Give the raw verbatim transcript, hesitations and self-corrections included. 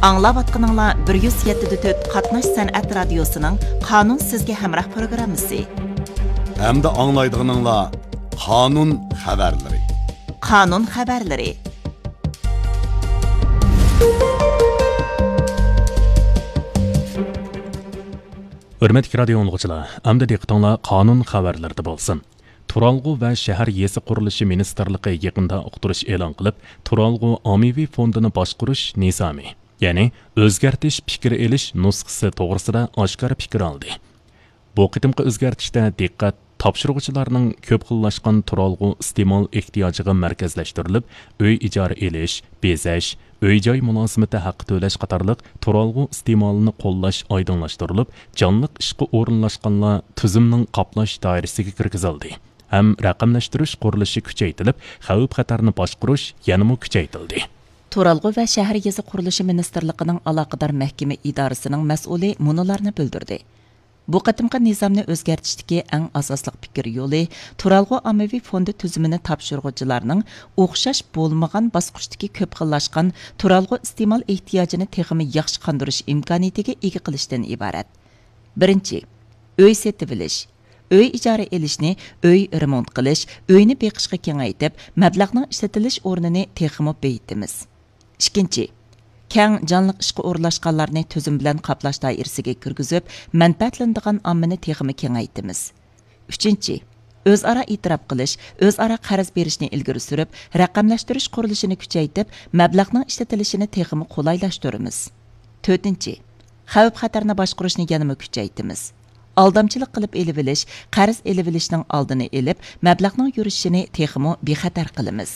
ئاڭلاۋاتقىنىڭلار بىر يۈز يەتتە دە تۆت قاتناش سەنئەت رادىيوسىنىڭ قانۇن سىزگە ھەمراھ پروگراممىسى. ھەمدە ئاڭلايدىغىنىڭلار قانۇن خەۋەرلىرى. قانۇن خەۋەرلىرى. ھۆرمەتلىك رادىيو ئاڭلىغۇچىلار، ئەمدى دىققىتىڭلار قانۇن خەۋەرلىرىدە بولسۇن. تۇرالغۇ ۋە شەھەر يېزا قۇرۇلۇشى مىنىستىرلىقى يېقىندا ئۇقتۇرۇش ئېلان قىلىپ، تۇرالغۇ ئاممىۋى فوندىنى باشقۇرۇش نىزامى، يەنى ئۆزگەرتىش پىكىر ئېلىش نۇسخىسى توغرىسىدا ئاشكارا پىكىر ئالدى. بۇ قېتىمقى ئۆزگەرتىشتە دىققەت تاپشۇرغۇچىلارنىڭ كۆپ خىللاشقان تۇرالغۇ ئىستېمال ئېھتىياجىغا مەركەزلەشتۈرۈلۈپ، ئۆي ئىجارە ئېلىش، بېزەش، ئۆي-جاي مۇلازىمىتى ھەققى تۆلەش قاتارلىق تۇرالغۇ ئىستېمالىنى قوللاش ئايدىڭلاشتۇرۇلۇپ، جانلىق ئىشقا ئورۇنلاشقانلار تۈزۈمنىڭ قاپلاش دائىرىسىگە كىرگۈزۈلدى ھەم رەقەملەشتۈرۈش قۇرۇلۇشى كۈچەيتىلىپ، خەۋپ-خەتەرنى باشقۇرۇش يەنىمۇ كۈچەيتىلدى. تۇرالغۇ ۋە شەھەر يېزا قۇرۇلۇشى مىنىستىرلىقىنىڭ ئالاقىدار مەھكىمە ئىدارىسىنىڭ مەسئۇلى مۇنۇلارنى بىلدۈردى. بۇ قېتىمقى نىزامنى ئۆزگەرتىشتىكى ئەڭ ئاساسلىق پىكىر يولى تۇرالغۇ ئاممىۋى فوندى تۈزۈمىنى تاپشۇرغۇچىلارنىڭ ئوخشاش بولمىغان باسقۇچتىكى كۆپ خىللاشقان تۇرالغۇ ئىستېمال ئېھتىياجىنى تېخىمۇ ياخشى قاندۇرۇش ئىمكانىيىتىگە ئىگە قىلىشتىن ئىبارەت. بىرىنچى، ئۆي سېتىۋېلىش. ئۆي ئىجارە ئېلىشنى ئۆي رېمونت قىلىش، ئۆينى بېقىشقا كېڭەيتىپ، مەبلەغنىڭ ئىشلىتىلىش ئورنىنى تېخىمۇ بېيىتىمىز. ئىككىنچى، كەڭ جانلىق ئىشقا ئورۇنلاشقانلارنى تۈزۈم بىلەن قاپلاش دائىرىسىگە كىرگۈزۈپ، مەنپەئەتلىنىدىغان ئاممىنى تېخىمۇ كېڭەيتىمىز. ئۈچىنچى، ئۆزئارا ئېتىراپ قىلىش، ئۆزئارا قەرز بېرىشنى ئىلگىرى سۈرۈپ، رەقەملەشتۈرۈش قۇرۇلۇشىنى كۈچەيتىپ، مەبلەغنىڭ ئىشلىتىلىشىنى تېخىمۇ قولايلاشتۇرىمىز. تۆتىنچى، خەۋپ-خەتەرنى باشقۇرۇشنى يەنىمۇ كۈچەيتىمىز. ئالدامچىلىق قىلىپ ئېلىۋېلىش، قەرز ئېلىۋېلىشنىڭ ئالدىنى ئېلىپ، مەبلەغنىڭ يۈرۈشۈشىنى تېخىمۇ بىخەتەر قىلىمىز.